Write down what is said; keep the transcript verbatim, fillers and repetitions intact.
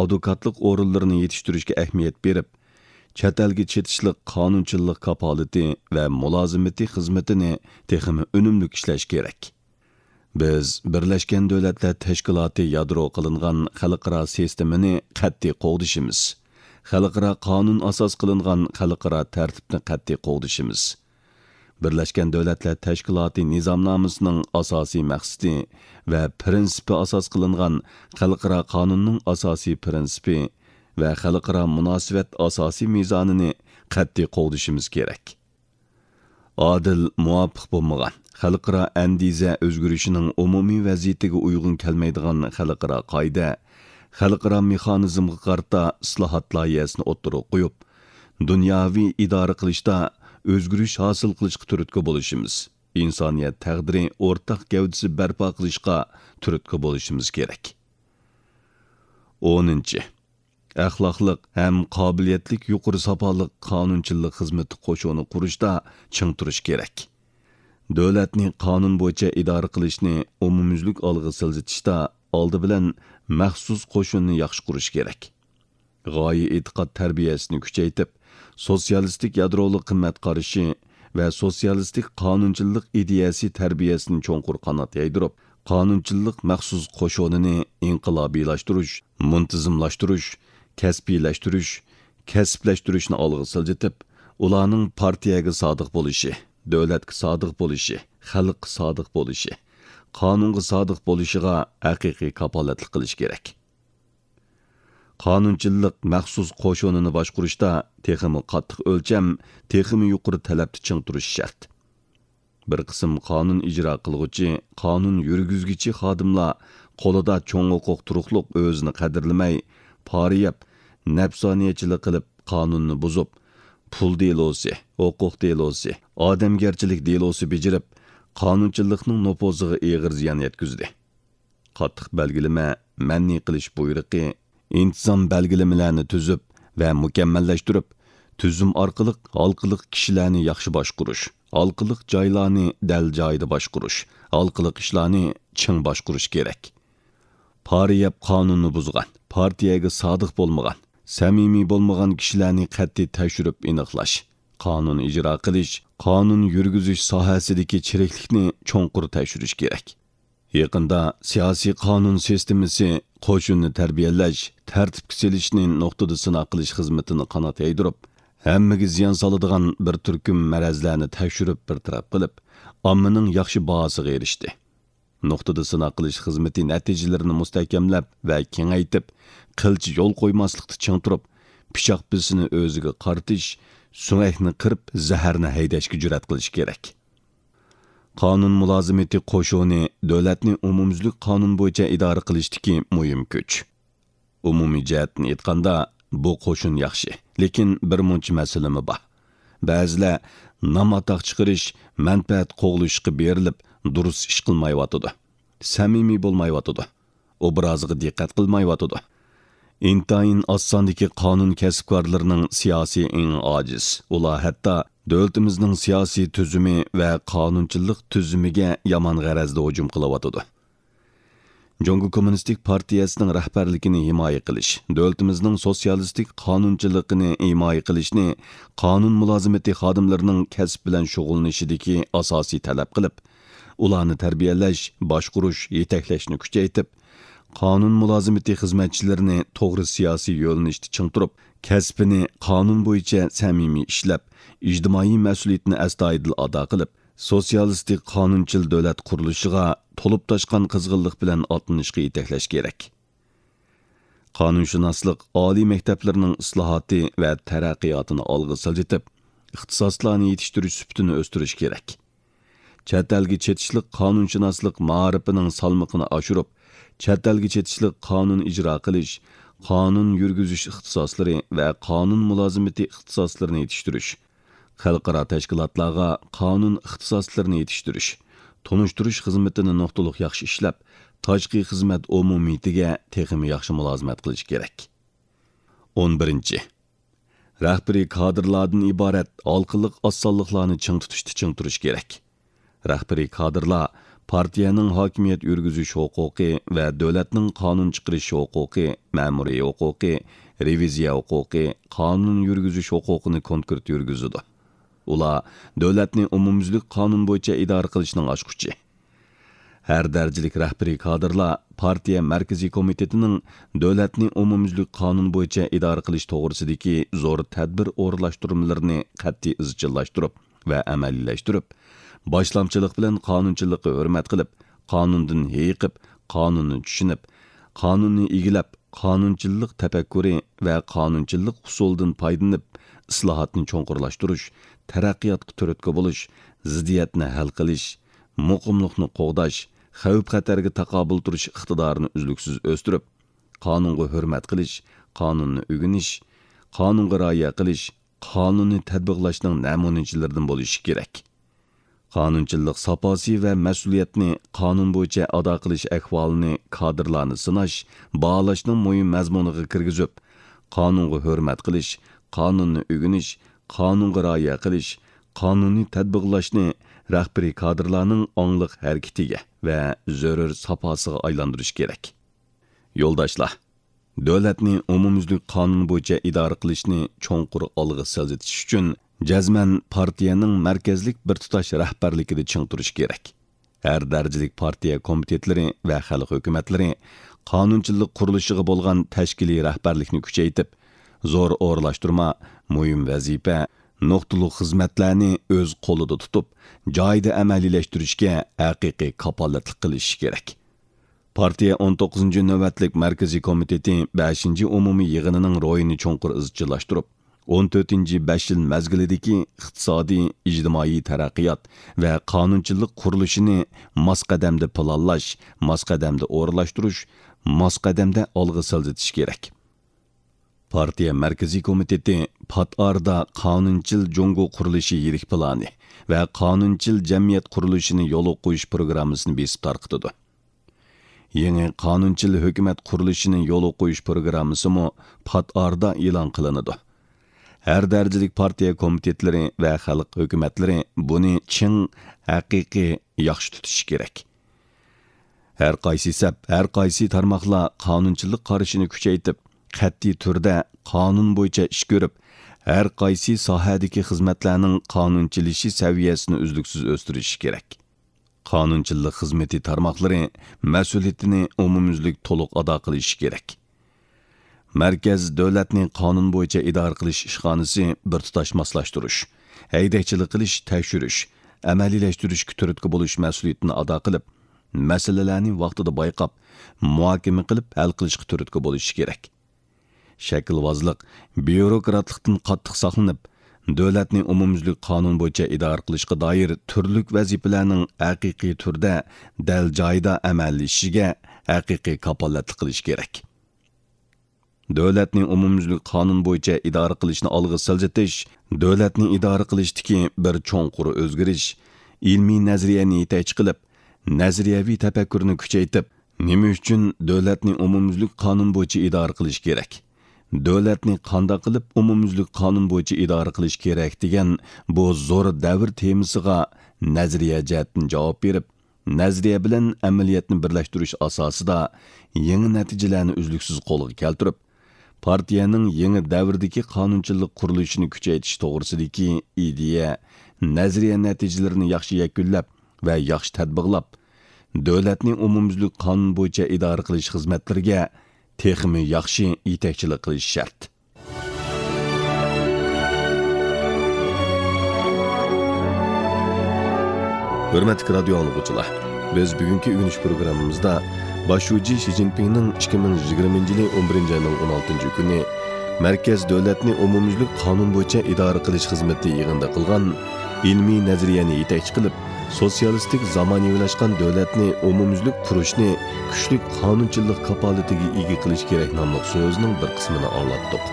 ئادۋوكاتلىق ئورۇنلىرىنى يېتىشتۈرۈشكە ئەھمىيەت بېرىپ، چەت ئەلگە چېتىشلىق قانۇنچىلىق كاپالىتى ۋە مۇلازىمىتى خىزمىتىنى تېخىمۇ ئۈنۈملۈك ئىشلەش كېرەك. بىز بىرلەشكەن دۆلەتلەر تەشكىلاتى يادرو قىلىنغان خەلقئارا سىستېمىنى قەتئىي قوغدىشىمىز. خەلقئارا قانۇن ئاساس قىلىنغان خەلقئارا تەرتىپنى قەتئىي قوغدىشىمىز. بىرلەشكەن دۆلەتلەر تەشكىلاتى نىزامنامىسىنىڭ ئاساسىي مەقسىتى ۋە پىرىنسىپى ئاساس قىلىنغان خەلقئارا قانۇننىڭ ئاساسىي پىرىنسىپى ۋە خەلقئارا مۇناسىۋەت ئاساسىي مىزانىنى قەتئىي قوغدىشىمىز كېرەك. ئادىل، مۇۋاپىق بولمىغان، خەلقئارا ئەندىزە ئۆزگىرىشىنىڭ ئومۇمىي ۋەزىيىتىگە ئۇيغۇن كەلمەيدىغان خەلقئارا قائىدە، خەلقئارا مېخانىزمغا قارىتا ئىسلاھات لايىھەسىنى ئوتتۇرىغا قويۇپ، دۇنياۋى ئىدارە قىلىشتا ئۆزگىرىش ھاسىل قىلىشقا تۈرتكە بولۇشىمىز، ئىنسانىيەت تەقدىرى ئورتاق گەۋدىسى بەرپا قىلىشقا تۈرتكە بولۇشىمىز كېرەك. ئونىنچى، ئەخلاقلىق ھەم قابىلىيەتلىك يۇقىرى ساپالىق قانۇنچىلىق خىزمىتى قوشۇنى قۇرۇشتا چىڭ تۇرۇش كېرەك. دۆلەتنى قانۇن بويىچە ئىدارە قىلىشنى ئومۇميۈزلۈك ئالغا سىلجىتىشتا ئالدى بىلەن مەخسۇس قوشۇننى ياخشى قۇرۇش كېرەك. غايە ئېتىقاد تەربىيەسىنى كۈچەيتىپ، سوتسىيالىستىك يادرولۇق قىممەت قارىشى ۋە سوتسىيالىستىك قانۇنچىلىق ئىدىيەسى تەربىيەسىنى چوڭقۇر قانات يايدۇرۇپ، قانۇنچىلىق مەخسۇس قوشۇنىنى ئىنقىلابىيلاشتۇرۇش، مۇنتىزىملاشتۇرۇش، كەسپىيلەشتۈرۈش، كەسىپلەشتۈرۈشنى ئالغا سىلجىتىپ، ئۇلارنىڭ پارتىيەگە سادىق بولۇشى، دۆلەتكە سادىق بولۇشى، خەلققە سادىق بولۇشى، قانۇنغا سادىق بولۇشىغا ھەقىقىي كاپالەتلىك قىلىش كېرەك. قانۇنچىلىق مەخسۇس قوشۇنىنى باشقۇرۇشتا تېخىمۇ قاتتىق ئۆلچەم، تېخىمۇ يۇقىرى تەلەپتە چىڭ تۇرۇش شەرت. بىر قىسىم قانۇن ئىجرا قىلغۇچى، قانۇن يۈرگۈزگۈچى خادىملار قولىدا چوڭ ھوقۇق تۇرۇقلۇق ئۆزىنى قەدىرلىمەي، پارا يەپ، نەپسانىيەتچىلىك قىلىپ، قانۇننى بۇزۇپ، پۇل دېلوسى، ھوقۇق دېلوسى، ئادەمگەرچىلىك دېلوسى بېجىرىپ، قانۇنچىلىقنىڭ نوپۇزىغا ئېغىر زىيان يەتكۈزدى. قاتتىق بەلگىلىمە، مەنئى قىلىش بۇيرۇقى، ئىنتىزام بەلگىلىمىلەرنى تۈزۈپ ۋە مۇكەممەللەشتۈرۈپ، تۈزۈم ئارقىلىق ھالقىلىق كىشىلەرنى ياخشى باشقۇرۇش، ھالقىلىق جايلارنى دەل جايىدا باشقۇرۇش، ھالقىلىق ئىشلارنى چىڭ باشقۇرۇش كېرەك. پارا يەپ قانۇننى بۇزغان، پارتىيەگە سادىق بولمىغان، سەمىمىي بولمىغان كىشىلەرنى قەتئىي تەكشۈرۈپ ئېنىقلاش، قانۇن ئىجرا قىلىش، قانۇن يۈرگۈزۈش ساھەسىدىكى چىرىكلىكنى چوڭقۇر تەكشۈرۈش كېرەك. يېقىندا سىياسىي قانۇن سىستېمىسى قوشۇننى تەربىيەلەش، تەرتىپكە سېلىشنى نۇقتىدا سىناق قىلىش خىزمىتىنى قانات يايدۇرۇپ، ھەممىگە زىيان سالىدىغان بىر تۈركۈم مەرەزلەرنى تەكشۈرۈپ بىر تەرەپ قىلىپ، ئاممىنىڭ ياخشى باھاسىغا ئېرىشتى. نۇقتىدا سىناق قىلىش خىزمىتى نەتىجىلىرىنى مۇستەھكەملەپ ۋە كېڭەيتىپ، قىلچە يول قويماسلىقتا چىڭ تۇرۇپ، پىچاق بىسىنى ئۆزىگە قارىتىش، سۆڭەكنى قىرىپ، زەھەرنى ھەيدەشكە جۈرئەت قىلىش كېرەك. قانۇن مۇلازىمىتى قوشۇنى دۆلەتنى ئومۇميۈزلۈك قانۇن بويىچە ئىدارە قىلىشتىكى مۇھىم كۈچ. ئومۇمىي جەھەتتىن ئېيتقاندا، بۇ قوشۇن ياخشى، لېكىن بىر مۇنچە مەسىلىمۇ بار. بەزىلەر نام-ئاتاق چىقىرىش، مەنپەئەت قوغلىشىشقا بېرىلىپ، دۇرۇس ئىش قىلمايۋاتىدۇ. سەمىمىي بولمايۋاتىدۇ. ئوبرازىغا دىققەت قىلمايۋاتىدۇ. ئىنتايىن ئاز ساندىكى قانۇن كەسىپكارلىرىنىڭ سىياسىي ئېڭى ئاجىز. ئۇلار ھەتتا دۆلىتىمىزنىڭ سىياسىي تۈزۈمى ۋە قانۇنچىلىق تۈزۈمىگە يامان غەرەزدە ھۇجۇم قىلىۋاتىدۇ. جۇڭگو كوممۇنىستىك پارتىيەسىنىڭ رەھبەرلىكىنى ھىمايە قىلىش، دۆلىتىمىزنىڭ سوتسىيالىستىك قانۇنچىلىقىنى ھىمايە قىلىشنى قانۇن مۇلازىمىتى خادىملىرىنىڭ كەسىپ بىلەن شۇغۇللىنىشىدىكى ئاساسىي تەلەپ قىلىپ، ئۇلارنى تەربىيەلەش، باشقۇرۇش، يېتەكلەشنى كۈچەيتىپ، قانۇن مۇلازىمىتى خىزمەتچىلىرىنى توغرا سىياسىي يۆنىلىشتە چىڭ تۇرۇپ، كەسپىنى قانۇن بويىچە سەمىمىي ئىشلەپ، ئىجتىمائىي مەسئۇلىيىتىنى ئەستايىدىل ئادا قىلىپ، سوتسىيالىستىك قانۇنچىل دۆلەت قۇرۇلۇشىغا تولۇپ تاشقان قىزغىنلىق بىلەن ئاتلىنىشقا يېتەكلەش كېرەك. قانۇنشۇناسلىق ئالىي مەكتەپلىرىنىڭ ئىسلاھاتى ۋە تەرەققىياتىنى ئالغا سىلجىتىپ، ئىختىساسلارنى يېتىشتۈرۈش سۈپىتىنى ئۆستۈرۈش كېرەك. چەت ئەلگە چېتىشلىق قانۇنشۇناسلىق مائارىپىنىڭ سالمىقىنى ئاشۇرۇپ، چەت ئەلگە چېتىشلىق قانۇن ئىجرا قىلىش، قانۇن يۈرگۈزۈش ئىختىساسلىرى ۋە قانۇن مۇلازىمىتى ئىختىساسلىرىنى يېتىشتۈرۈش، خەلقئارا تەشكىلاتلارغا قانۇن ئىختىساسلىرىنى يېتىشتۈرۈش، تونۇشتۇرۇش خىزمىتىنى نۇقتىلىق ياخشى ئىشلەپ، تاشقى خىزمەت ئومۇمىيىتىگە تېخىمۇ ياخشى مۇلازىمەت قىلىش كېرەك. ئون بىرىنچى، رەھبىرىي كادىرلاردىن ئىبارەت ھالقىلىق ئاز سانلىقلارنى چىڭ تۇتۇشتا چىڭ تۇرۇش كېرەك. رەھبىرىي كادىرلار پارتىيەنىڭ ھاكىمىيەت يۈرگۈزۈش ھوقۇقى ۋە دۆلەتنىڭ قانۇن چىقىرىش ھوقۇقى، مەمۇرىي ھوقۇقى، رېۋىزىيە ھوقۇقى، قانۇن يۈرگۈزۈش ھوقۇقىنى كونكرېت يۈرگۈزىدۇ. ئۇلار دۆلەتنى ئومۇميۈزلۈك قانۇن بويىچە ئىدارە قىلىشنىڭ ئاچقۇچى. ھەر دەرىجىلىك رەھبىرىي كادىرلار پارتىيە مەركىزىي كومىتېتىنىڭ دۆلەتنى ئومۇميۈزلۈك قانۇن بويىچە ئىدارە قىلىش توغرىسىدىكى زور تەدبىر ئورۇنلاشتۇرمىلىرىنى قەتئىي ئىزچىللاشتۇرۇپ ۋە ئەمەلىيلەشتۈرۈپ، باشلامچىلىق بىلەن قانۇنچىلىققا ھۆرمەت قىلىپ، قانۇندىن ھېيىقىپ، قانۇننى چۈشىنىپ، قانۇننى ئىگىلەپ، قانۇنچىللىق تەپەككۇرى ۋە قانۇنچىللىق ئۇسۇلىدىن پايدىلىنىپ، ئىسلاھاتنى چوڭقۇرلاشتۇرۇش، تەرەققىياتقا تۈرتكە بولۇش، زىددىيەتنى ھەل قىلىش، مۇقىملىقنى قوغداش، خەۋپ-خەتەرگە تاقابىل تۇرۇش ئىقتىدارىنى ئۈزلۈكسىز ئۆستۈرۈپ، قانۇنغا ھۆرمەت قىلىش، قانۇننى ئۆگىنىش، قانۇنغا رىئايە قىلىش، قانۇننى تەتبىقلاشنىڭ نەمۇنىچىلىرىدىن بولۇشى كېرەك. قانۇنچىللىق ساپاسى ۋە مەسئۇلىيەتنى قانۇن بويىچە ئادا قىلىش ئەھۋالىنى كادىرلارنى سىناش، باھالاشنىڭ مۇھىم مەزمۇنىغا كىرگۈزۈپ، قانۇنغا ھۆرمەت قىلىش، قانۇننى ئۆگىنىش، قانۇنغا رىئايە قىلىش، قانۇننى تەتبىقلاشنى رەھبىرىي كادىرلارنىڭ ئاڭلىق ھەرىكىتىگە ۋە زۆرۈر ساپاسىغا ئايلاندۇرۇش كېرەك. يولداشلار، دۆلەتنى ئومۇميۈزلۈك قانۇن بويىچە ئىدارە قىلىشنى چوڭقۇر ئالغا سىلجىتىش ئۈچۈن، جەزمەن پارتىيەنىڭ مەركەزلىك بىر تۇتاش رەھبەرلىكىدە چىڭ تۇرۇش كېرەك. ھەر دەرىجىلىك پارتىيە كومىتېتلىرى ۋە خەلق ھۆكۈمەتلىرى قانۇنچىلىق قۇرۇلۇشىغا بولغان تەشكىلىي رەھبەرلىكنى كۈچەيتىپ، زور ئورۇنلاشتۇرما، مۇھىم ۋەزىپە، نۇقتىلىق خىزمەتلەرنى ئۆز قولىدا تۇتۇپ، جايىدا ئەمەلىيلەشتۈرۈشكە ھەقىقىي كاپالەتلىك قىلىشى كېرەك. پارتىيە ئون توققۇزىنچى نۆۋەتلىك مەركىزىي كومىتېتى بەشىنچى ئومۇمىي يىغىنىنىڭ روھىنى چوڭقۇر ئىزچىللاشتۇرۇپ، ئون تۆتىنچى بەش يىل مەزگىلىدىكى ئىقتىسادىي، ئىجتىمائىي تەرەققىيات ۋە قانۇنچىلىق قۇرۇلۇشىنى ماس قەدەمدە پىلانلاش، ماس قەدەمدە ئورۇنلاشتۇرۇش، ماس قەدەمدە ئالغا سىلجىتىش كېرەك. پارتىيە مەركىزىي كومىتېتى پات ئارىدا قانۇنچىل جۇڭگو قۇرۇلۇشى يىرىك پىلانى ۋە قانۇنچىل جەمئىيەت قۇرۇلۇشىنى يولغا قويۇش پروگراممىسىنى بېسىپ تارقىتىدۇ. يېڭى قانۇنچىل ھۆكۈمەت قۇرۇلۇشىنى يولغا قويۇش پروگراممىسىمۇ پات ئارىدا ئېلان قىلىنىدۇ. ھەر دەرىجىلىك پارتىيە كومىتېتلىرى ۋە خەلق ھۆكۈمەتلىرى بۇنى چىڭ، ھەقىقىي، ياخشى تۇتۇشى كېرەك. ھەر قايسى سەپ، ھەر قايسى تارماقلار قانۇنچىلىق قارىشىنى كۈچەيتىپ، قەتئىي تۈردە قانۇن بويىچە ئىش كۆرۈپ، ھەر قايسى ساھەدىكى خىزمەتلەرنىڭ قانۇنچىلىشى سەۋىيەسىنى ئۈزلۈكسىز ئۆستۈرۈشى كېرەك. قانۇنچىلىق خىزمىتى تارماقلىرى مەسئۇلىيىتىنى ئومۇميۈزلۈك تولۇق ئادا قىلىشى كېرەك. مەركەز دۆلەتنى قانۇن بويىچە ئىدارە قىلىش ئىشخانىسى بىر تۇتاش ماسلاشتۇرۇش، ھەيدەكچىلىك قىلىش، تەكشۈرۈش، ئەمەلىيلەشتۈرۈشكە تۈرتكە بولۇش مەسئۇلىيىتىنى ئادا قىلىپ، مەسىلىلەرنى ۋاقتىدا بايقاپ، مۇھاكىمە قىلىپ ھەل قىلىشقا تۈرتكە بولۇشى كېرەك. شەكىلۋازلىق، بيۇروكراتلىقتىن قاتتىق ساقلىنىپ، دۆلەتنى ئومۇميۈزلۈك قانۇن بويىچە ئىدارە قىلىشقا دائىر تۈرلۈك ۋەزىپىلەرنىڭ ھەقىقىي تۈردە، دەل جايىدا ئەمەلىيلىشىشىگە ھەقىقىي كاپالەتلىك قىلىش كېرەك. دۆلەتنى ئومۇميۈزلۈك قانۇن بويىچە ئىدارە قىلىشنى ئالغا سىلجىتىش، دۆلەتنى ئىدارە قىلىشتىكى بىر چوڭقۇر ئۆزگىرىش، ئىلمىي نەزەرىيەنى يېتەكچى قىلىپ، نەزەرىيەۋى تەپەككۇرنى كۈچەيتىپ، نېمە ئۈچۈن دۆلەتنى ئومۇميۈزلۈك قانۇن بويىچە ئىدارە قىلىش كېرەك؟ دۆلەتنى قانداق قىلىپ ئومۇميۈزلۈك قانۇن بويىچە ئىدارە قىلىش كېرەك دېگەن بۇ زور دەۋر تېمىسىغا نەزەرىيە جەھەتتىن جاۋاب بېرىپ، نەزەرىيە بىلەن ئەمەلىيەتنى بىرلەشتۈرۈش ئاساسىدا يېڭى نەتىجىلەرنى ئۈزلۈكسىز قولغا كەلتۈرۈپ، پارتىيەنىڭ يېڭى دەۋردىكى قانۇنچىلىق قۇرۇلۇشىنى كۈچەيتىش توغرىسىدىكى ئىدىيە، نەزەرىيە نەتىجىلىرىنى ياخشى يەكۈنلەپ ۋە ياخشى تەتبىقلاپ، دۆلەتنى ئومۇميۈزلۈك قانۇن بويىچە ئىدارە قىلىش خىزمەتلىرىگە تېخىمۇ ياخشى يېتەكچىلىك قىلىش شەرت. ھۆرمەتلىك رادىيو ئاڭلىغۇچىلار، بىز بۈگۈنكى ئۆگىنىش پروگراممىمىزدا باش شۇجى شى جىنپىڭنىڭ ئىككى مىڭ يىگىرمىنچى يىلى ئون بىرىنچى ئاينىڭ ئون ئالتىنچى كۈنى مەركەز دۆلەتنى ئومۇميۈزلۈك قانۇن بويىچە ئىدارە قىلىش خىزمىتى يىغىنىدا قىلغان ئىلمىي نەزەرىيەنى يېتەكچى قىلىپ، سوتسىيالىستىك زامانىۋىلاشقان دۆلەتنى ئومۇميۈزلۈك قۇرۇشنى كۈچلۈك قانۇنچىلىق كاپالىتىگە ئىگە قىلىش كېرەك ناملىق سۆزىنىڭ بىر قىسمىنى ئاڭلاتتۇق.